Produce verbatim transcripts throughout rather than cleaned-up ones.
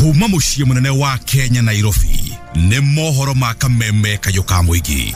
Kuma muciĩ mũnene wa Kenya Nairobi nĩ mohoro ma kameme kayũ ka mũingĩ.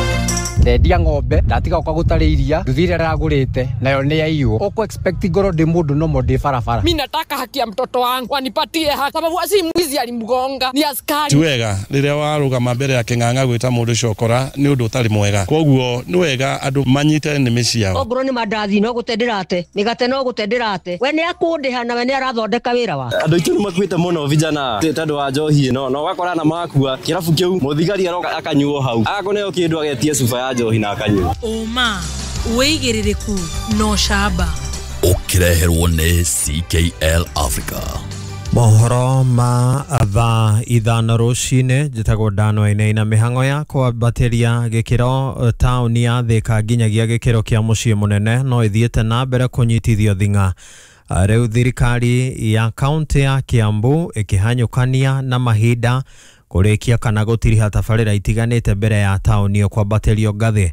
Ndendia ng'ombe ndatiga gũka gũtarĩ iria nduthi ĩrĩa ndĩragũrĩte nayo nĩ yaiywo. Ũkũ expect ngorwo ndĩ mũndũ nomo ndĩ barabara. Mimi nataka haki ya mtoto wangu wanipatie haki, sababu si mwizi alimgonga ni askari. Ti wega rĩrĩa warũgama mbere ya kĩng'ang'a gwĩta mũndũ cokora nĩ ũndũ ũtarĩ mwega, koguo nĩ wega andũ manyite nĩmĩ ciao. Ongorwo nĩ mandathi no gũte ndĩrate, mĩgate no gũte ndĩrate, we nĩ akũndĩha na we nĩ arathondeka wĩra wa andũ aitũ nĩ makuĩte mũno vijana tondũ wa njohi ĩno, na ũgakora na makua kĩrabu kĩu mũthigari aroka akanyuo hau agakũneo kĩndũ agetie cuba ya njohi na akanyua. Ũma wĩigĩrĩrĩku no camba ũkĩreherwo nĩ C K L Africa. Mohoro ma thaa ithano rũcinĩ njĩtagwo Dano Wainaina. Mĩhang'o ya kwambatĩria gĩkĩro taũni ya Thika nginyagia gĩkĩro kĩa mũciĩ mũnene no ĩthiĩte na mbere kũnyitithio thing'a. Rĩu thirikari ya kaunti ya Kiambu ĩkĩhanyũkania na mahinda kũrĩkia kana gũtiriha tabarĩra itiganĩte mbere ya taũni ĩyo kwambatĩrio ngathĩ.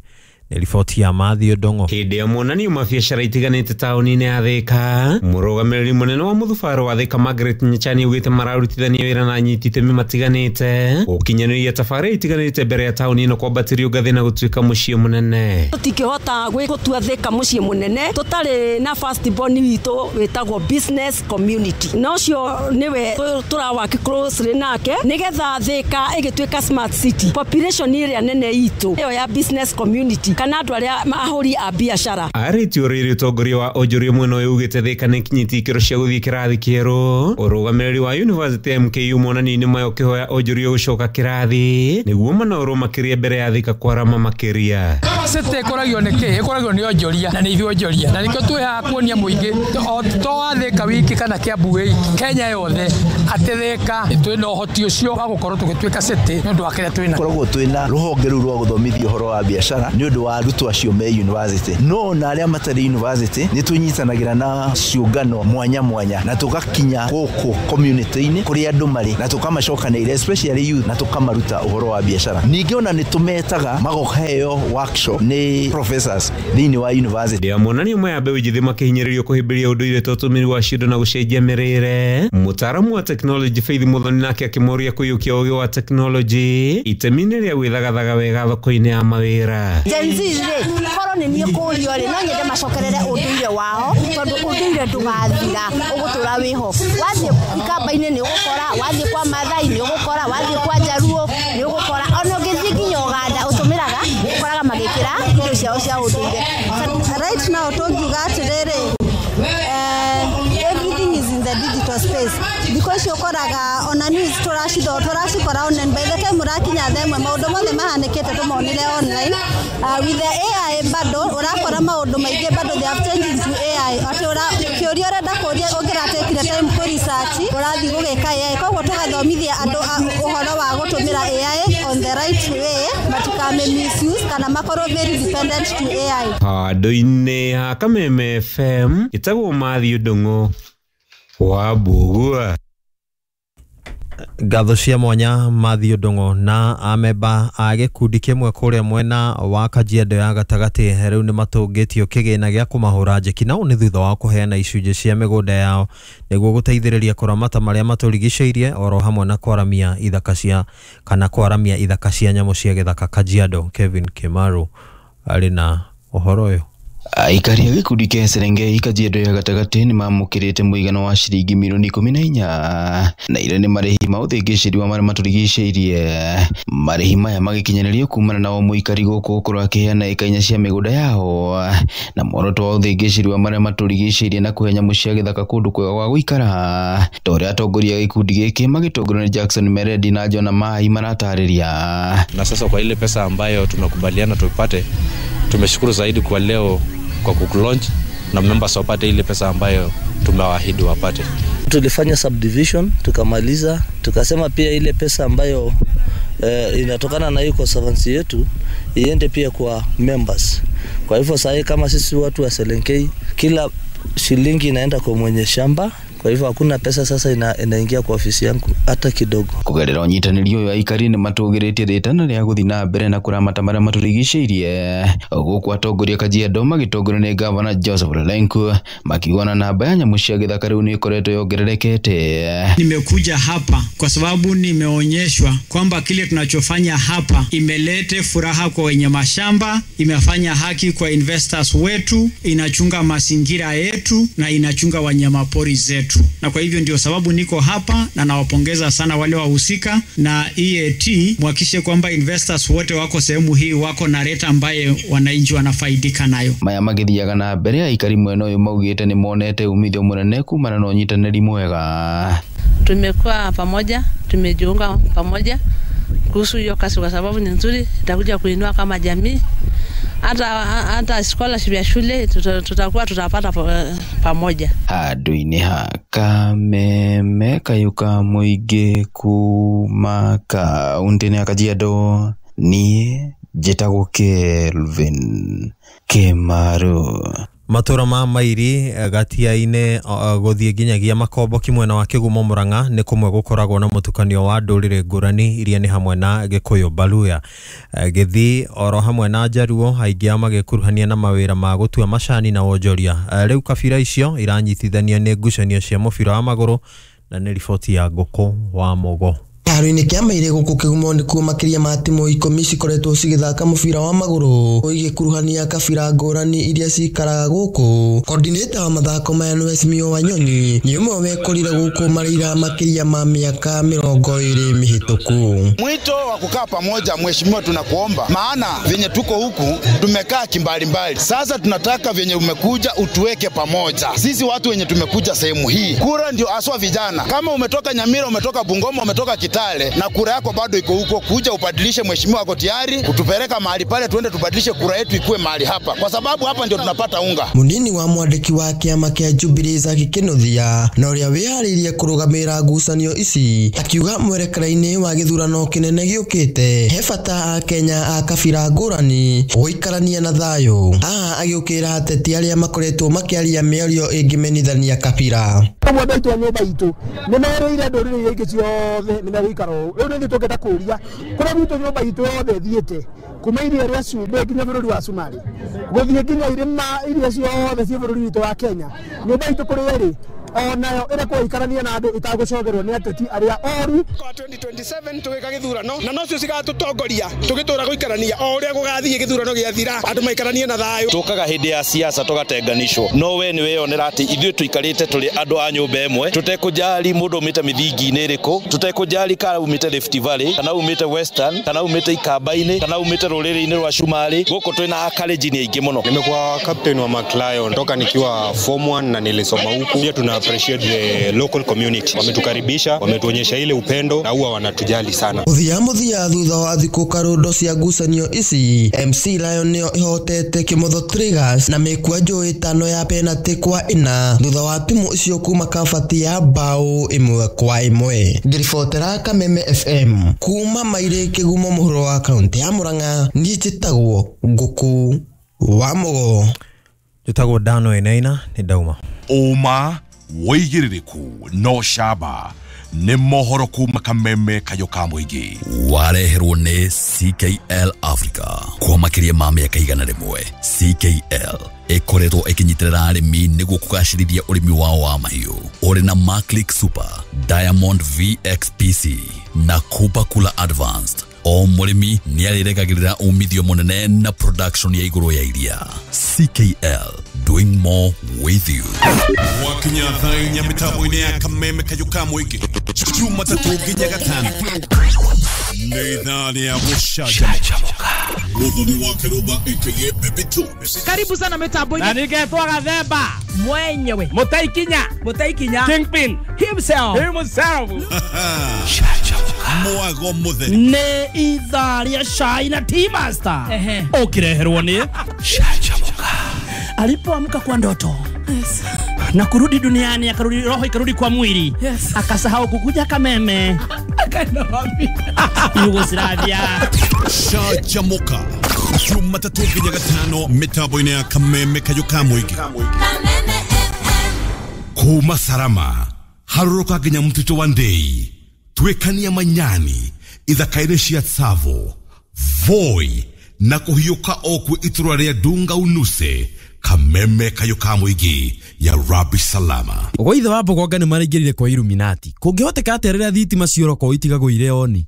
Nĩ riboti ya Matthew Ndong'o. Hĩndĩ ya mwonanio mabiacara itiganĩte taũni-inĩ ya Thika, mũrũgamĩrĩri mũnene wa mũthubarũ wa Thika Margaret Nyechani augĩte mararutithania wĩra na anyiti itemi matiganĩte gũkinyanĩria tabarĩra itiganĩte mbere ya taũni ĩno kwambatĩrio ngathĩ na gũtuĩka mũciĩ mũnene. Tũtingĩhota gũtua Thika mũciĩ mũnene tũtarĩ na first born witũ wĩtagwo business community, na ũcio nĩwe tũrawaki closely nake nĩgetha Thika ĩgĩtuĩka smart city. Population ĩrĩa nene itũ ĩyo ya business community kana andũ arĩa ahũri a biacara. Arĩtie rĩrĩ ũtongoria wa onjoria mwena ũyũ ugĩte Thika nĩ ĩkinyĩtie ikĩro cia gũthiĩ kĩrathi kĩerũ. Ũrũgamĩrĩri wa University M K U monanio-inĩ maya ũkĩhoya onjoria gũcoka kĩrathi nĩguo manorwo makĩria mbere ya Thika kwarama makĩria. City ĩkũragio nĩ kĩ? Ĩkũragio nĩ onjoria na nĩ ithuĩ onjoria, na nĩkĩo twĩ haha kuonia mũingĩ to wa Thika wiki kana Kiambu wiki Kenya yothe atĩ Thika twĩna ũhoti ũcio wa gũkorwo tũgĩtuĩka city nĩ ũndũ wa kĩrĩa twĩna. Koragwo twĩna rũhonge rũu rwa gũthomithia ũhoro wa biacara nĩ ũndũ wa arutwo acio me university, no na arĩa matarĩ university nĩ tũnyitanagĩra na ciũngano mwanya mwanya na tũgakinya gũkũ community-inĩ kũrĩa andũ marĩ na tũkamacokanĩrĩria especially youth na tũkamaruta ũhoro wa biacara. Ningĩ ona nĩ tũmetaga magokaheo workshop nĩ professors thĩinĩ wa university. Ya monanio maya mbeũ njĩthĩ makĩhinyĩrĩrio kũhĩmbĩria ũndũire ta ũtũmĩri wa cindo na gũcenjia mĩrĩre. Mũtaaramu wa technology Faith Muthoni nake akĩmoria kũiyũkia ũgĩ wa technology itemi-inĩ rĩa gwĩthagathaga wega thoko-inĩ ya mawĩra. Gen Z rĩ korwo nĩ niĩ kũrio rĩ no nyende macokerere ũndũire wao tondũ ũndũire ndũgathira ũgũtũra wĩho. Wathiĩ ikamba-inĩ nĩ ũgũkora, wathiĩ kwa Maathai nĩ ũgũkora, wathiĩ kwa Njaruo nĩ ũgũkora, ona ũngĩthiĩ nginya Ũganda ũtũmĩraga ũkoraga magĩkĩra indo ciao cia ũndũire. Right now tũngiuga atĩrĩrĩ, everything is in the digital space. Thikũ ici ũkoraga ona news tũracitho tũracikora online, by the time ũrakinya thaa ĩmwe maũndũ mothe mahanĩkĩte tũmonire online. Uh, with the A I bado ũrakora maũndũ maingĩ bado they have changed into A I, atĩ kĩũria ũrenda kũria ũngĩratekire time kũ research ũrathiĩ gũgĩka A I. Koguo tũgathomithia andũ ũhoro wa gũtũmĩra A I on the right way, matikame misuse kana makorwo very dependent to A I. Handũ-inĩ ha Kameme F M ĩtagwo Matthew Ndong'o wa Mbugua. Ngatho cia mwanya Matthew Ndong'o na amemba a gĩkundi kĩmwe kũrĩa mwena wa Kajiado ya gatagatĩ rĩu nĩ matũngĩtio kĩgĩna gĩa kũmahũra njeki, na ũũ nĩ thutha wa kũheana icunjĩ cia mĩgũnda yao nĩguo gũteithĩrĩria kũramata marĩa matũrigicĩirie oro hamwe na kwaramia ithaka cia kana kwaramia ithaka cia nyamũ cia gĩthaka Kajiado. Kevin Kimaru arĩ na ũhoro ũyũ. Aikari a gĩkundi kĩa Serengei Kajiado ya gatagatĩ nĩ mamũkĩrĩte mũigana wa ciringi milioni ikũmi na inya na iria nĩ marĩhi ma ũthĩngĩcĩri wa marĩa matũrigicĩirie. Marĩhi maya magĩkinyanĩrio kumana na o mũikari gũkũ gũkorwo akĩheana ĩka inya cia mĩgũnda yao na muoroto wa ũthĩngĩcĩri wa marĩa matũrigicĩirie na kũhe nyamũ cia gĩthaka kũndũ kwega gwa gũikara, ta ũrĩa atongoria a gĩkundi gĩkĩ magĩtongorio nĩ Jackson Meredi na John Mai maratarĩria. Na sasa kwa ile pesa ambayo tumekubaliana tupate, tumeshukuru zaidi kwa leo kwa kukulaunch na members wapate ile pesa ambayo tumewaahidi wapate. Tulifanya subdivision tukamaliza, tukasema pia ile pesa ambayo eh, inatokana na hiyo conservancy yetu iende pia kwa members. Kwa hivyo sasa kama sisi watu wa Selenkei, kila shilingi inaenda kwa mwenye shamba. Kwa hivyo hakuna pesa sasa ina, inaingia kwa ofisi yangu hata kidogo. Kugerera ũnyitanĩri ũyũ aikari nĩ matũgĩrĩtie rĩtana rĩa gũthiĩ na mbere na kũramata marĩa matũrigicĩirie gũkũ atongoria Kajiado magĩtongorio nĩ gavana Joseph Lenku makiuga na namba ya nyamũ cia gĩthaka rĩu nĩ ĩkoretwo yongererekete. Nimekuja hapa kwa sababu nimeonyeshwa kwamba kile tunachofanya hapa imelete furaha kwa wenye mashamba, imefanya haki kwa investors wetu, inachunga mazingira yetu na inachunga wanyamapori zetu. Na kwa hivyo ndio sababu niko hapa na nawapongeza sana wale wahusika na E A T, muhakikishe kwamba investors wote wako sehemu hii wako na rate ambaye wananchi wanafaidika nayo. Maya magithiaga na mbere aikari mwena uyu maugite ni monete umithio munene kumana na unyitanĩri mwega. Tumekuwa pamoja, tumejiunga pamoja kuhusu hiyo kazi kwa sababu ni nzuri, itakuja kuinua kama jamii. Hata hata scholarship ya shule tutakuwa tutapata pamoja. Handũ-inĩ ha Kameme Kayuka mũingĩ kuma kaũntĩ-inĩ ya Kajiado, niĩ njĩtagwo Kelvin Kĩmaru. Matura ma Mairi gatia-inĩ gũthiĩ nginyagia Makomboki mwena wa Kĩgumo Murang'a nĩ kũmwe gũkoragwo na mũtukanio wa ndũrĩrĩ ngũrani iria nĩ hamwe na Gĩkũyũ, Baluya, Gĩthii oro hamwe na Njaruo, aingĩ ao magĩkuruhania na mawĩra ma gũtua macani na wonjoria. Rĩu kabira icio iranyitithanio nĩ ngucanio cia mũbira wa magũrũ na nĩ riboti ya Ngũkũ wa Mũgo. Kĩharo-inĩ kĩa Maire gũkũ Kĩgumo nĩkuo makĩria ma timu ikũmi cikoretwo cigĩthaka mũbira wa magũrũ igĩkuruhania kabira ngũrani iria cikaraga gũkũ. Coordinator wa mathako maya nĩ Mheshimiwa Wanyonyi nĩ ũmwe wekorire gũkũ Mareira makĩria ma miaka mĩrongo ĩrĩ mĩhĩtũku. Mwito wa kukaa pamoja, mheshimiwa, tunakuomba, maana venye tuko huku tumekaa kimbalimbali. Sasa tunataka venye umekuja utuweke pamoja sisi watu wenye tumekuja sehemu hii. Kura ndio aswa vijana. Kama umetoka Nyamira, umetoka Bungoma, umetoka Kitale na kura yako bado iko huko, kuja ubadilishe. Mheshimiwa ako tayari kutupeleka mahali pale, tuende tubadilishe kura yetu ikue mahali hapa, kwa sababu hapa ndio tunapata unga. Munini wa mwandĩki wa kĩama kĩa Jubilee Zaki Kĩnuthia na ũrĩa wĩharĩirie kũrũgamĩrĩra ngucanio ici akiuga mwerekera-inĩ wa gĩthurano kĩnene gĩũkĩte he bata a Kenya a kabira ngũrani gũikarania na thayũ. Haha agĩũkĩrĩra ateti arĩa makoretwo makĩaria mĩario ĩngĩmenithania kabira. Ũmwe ndaitwo nyũmba itũ nĩ merĩire ndũrĩrĩ iria ingĩ ciothe nĩ megũikara ũũ. Rĩu nĩ ithuĩ tũngĩenda kũũria kũrĩa gwitũ nyũmba itũ yothe ĩthiĩte kuma iria rĩa cumbĩ nginya bũrũri wa Somalia gũthiĩ nginya irĩma iria ciothe ciĩ bũrũri witũ wa Kenya, nyũmba itũ kũrĩa ĩrĩ onayo ĩrekwo ikarania na andũ ĩtagũcogerwo nĩ ateti arĩa oru. Kwa twenty twenty-seven tũgĩka gĩthurano na nocio cigatũtongoria tũgĩtũra gũikarania o ũrĩa gũgathiĩ gĩthurano gĩathira andũ maikaranie na thayũ. Tũkaga hĩndĩ ya siasa tũgatenganishwo, no we nĩ weyonera atĩ ithuĩ tũikarĩte tũrĩ andũ a nyũmba ĩmwe tũtekũjali mũndũ umĩte mĩthingi-inĩ ĩrĩkũ, tũtekũjali kana umĩte Rift Valley kana umĩte Western kana umĩte Ikamba-inĩ kana umĩte rũrĩrĩ-inĩ rwa Shumari. Gũkũ twĩna Akalenjin aingĩ mũno. Nimekuwa captain wa McLion toka nikiwa form one na nilisoma huku. Pia tuna appreciate the local community, wametukaribisha, wametuonyesha ile upendo na huwa wanatujali sana. Muthia muthia thutha wa thikũ karundo cia ngucanio ici, M C Lion nĩyo ĩhotete Kĩmotho Triggers na mĩkwanjũ ĩtano ya penalty kwa ĩna thutha wa timu icio kuma kabati ya bao ĩmwe kwa ĩmwe. Ngĩribotera Kameme F M kuma Maire Kĩgumo mũhuro wa kaunti ya Murang'a, niĩ njĩtagwo Ngũkũ wa Mũgo. Njĩtagwo Dano Enaina, nĩ ndauma. Ũma wĩigĩrĩrĩku no camba nĩ mohoro kuma Kameme Kayũ ka mũingĩ wareherwo nĩ C K L Africa kwa makĩria ma mĩaka igana rĩmwe. C K L ĩkoretwo ĩkĩnyitĩrĩra arĩmi nĩguo kũgacĩrithia ũrĩmi wao wa mahiũ ũrĩ na Maclick Super, Diamond V X P C na Cooper Cooler Advanced. O mũrĩmi nĩ arĩregagĩrĩra umithio mũnene na production ya igũrũ ya iria. C K L, doing more with you. Wakinya thaa inya mĩtambo-inĩ ya Kameme Kayũ ka mũingĩ Jumatatũ nginya Gatano nĩ ithaa rĩa gũcanjamũka. Mũthoni wa Kĩrũmba aka Baby Tubes. Karibu sana mĩtambo-inĩ. Na ningetwo Gathemba mwenyewe Mũtaikinya Mũtaikinya Kingpin himself himself. Mwago mũtheri nĩ ithaa rĩa cai na Tea Master ũkĩreherwo nĩ Canjamũka. Alipoamka kwa ndoto, yes, na kurudi duniani, akarudi roho ikarudi kwa mwili, yes, akasahau kukuja Kameme akaenda wapi? Yugoslavia. Canjamũka Jumatatũ nginya Gatano mĩtambo-inĩ ya Kameme Kayũ ka mũingĩ. Kuma Sarama harũrũka nginya mũtitũ wa Ndei, twĩkania Manyani, ithaka-inĩ cia Tsavo, Voi na kũhiũka o kwĩ itũra rĩa Dunga Unuse, kameme kayũ ka mũingĩ ya Rabi Salama. Gwa ithe wa Mbogonga nĩ maraingĩrire kwa Illuminati. Kũngĩhoteka atĩa rĩrĩa thitima ciora kwao itigagwo irĩ oni?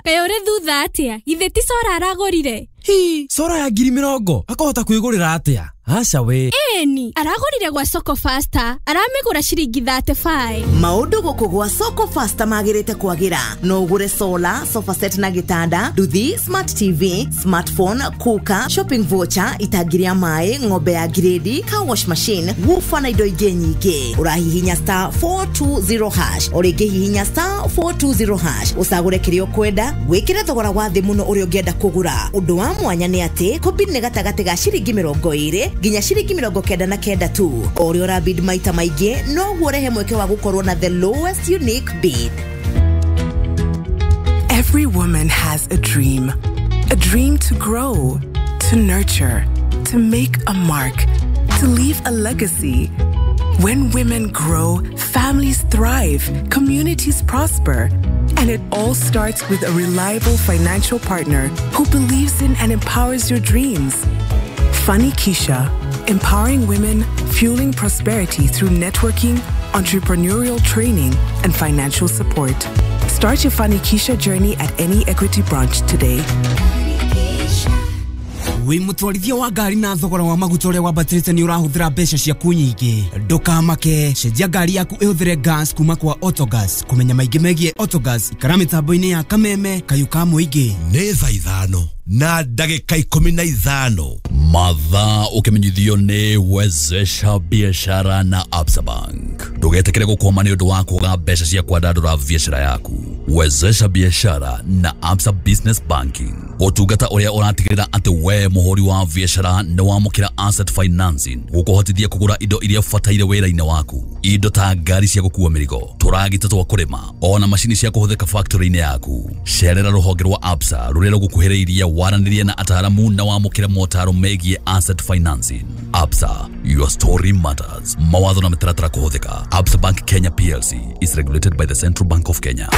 Kaĩ ũrĩ thutha atĩa? Githĩ ti cora aragũrire? Hi, cora ya ngiri mĩrongo akahota kwĩgũrĩra atĩa? Aca we. Ĩni, aragũrire gwa Soko Faster, aramĩgũra ciringi thirty-five. Maũndũ gũkũ gwa Soko Faster magĩrĩte kwagĩra. No ũgũre solar, sofa set na gĩtanda, nduthi, smart T V, smartphone, cooker, shopping voucher, itangi rĩa maĩ, ng'ombe ya grade, car wash machine, woofer na indo ingĩ nyingĩ. Ũrahihinya star four two zero hash, o rĩngĩ hihinya star four two zero hash, ũcagũre kĩrĩa ũkwenda, wĩkĩre thogora wa thĩ mũno ũrĩa ũngĩenda kũgũra. Ũndũ wa mwanya nĩ atĩ kũbid nĩ gatagatĩ ga ciringi mĩrongo ĩrĩ nginya ciringi mĩrongo kenda na kenda tu. O ũrĩa ũrabid maita maingĩ noguo ũrehe mweke wa gũkorwo na the lowest unique bid. Every woman has a dream. A dream to grow, to nurture, to make a mark, to leave a legacy. When women grow, families thrive, communities prosper. And it all starts with a reliable financial partner who believes in and empowers your dreams. Funny Keisha, empowering women, fueling prosperity through networking, entrepreneurial training, and financial support. Start your Funny Keisha journey at any Equity branch today. Wĩ mũtwarithia wa ngari na thogora wa maguta ũrĩa wambatĩrĩte nĩ ũrahũthĩra mbeca ciaku nyingĩ. Ndũkamake, cenjia ngari yaku ĩhũthĩre gas kuma kwa Autogas. Kũmenya maingĩ megiĩ Autogas, ikara mĩtambo-inĩ ya Kameme kayũ ka mũingĩ. Nĩ thaa ithano na ndagĩka ikũmi na ithano. Mathaa ũkĩmenyithio nĩ Wezesha Biashara na Absa Bank. Ndũgetĩkĩre gũkwama nĩ ũndũ wa kwaga mbeca cia kwandandũra biashara yaku. Wezesha Biashara na Absa Business Banking, ũtungata ũrĩa ũratigĩrĩra atĩ we mũhũri wa biashara nĩ wamũkĩra asset financing gũkũhotithia kũgũra indo iria ũbataire wĩra-inĩ waku, indo ta ngari cia gũkua mĩrigo, tũragita twa kũrĩma, ona macini cia kũhũthĩka factory-inĩ yaku. Cerera rũhonge rwa Absa rũrĩa rũgũkuhĩrĩirie, waranĩrie na ataaramu na wamũkĩre motaro megiĩ asset financing. Absa, your story matters. Mawatho na mĩtaratara kũhũthĩka. Absa Bank Kenya P L C is regulated by the Central Bank of Kenya.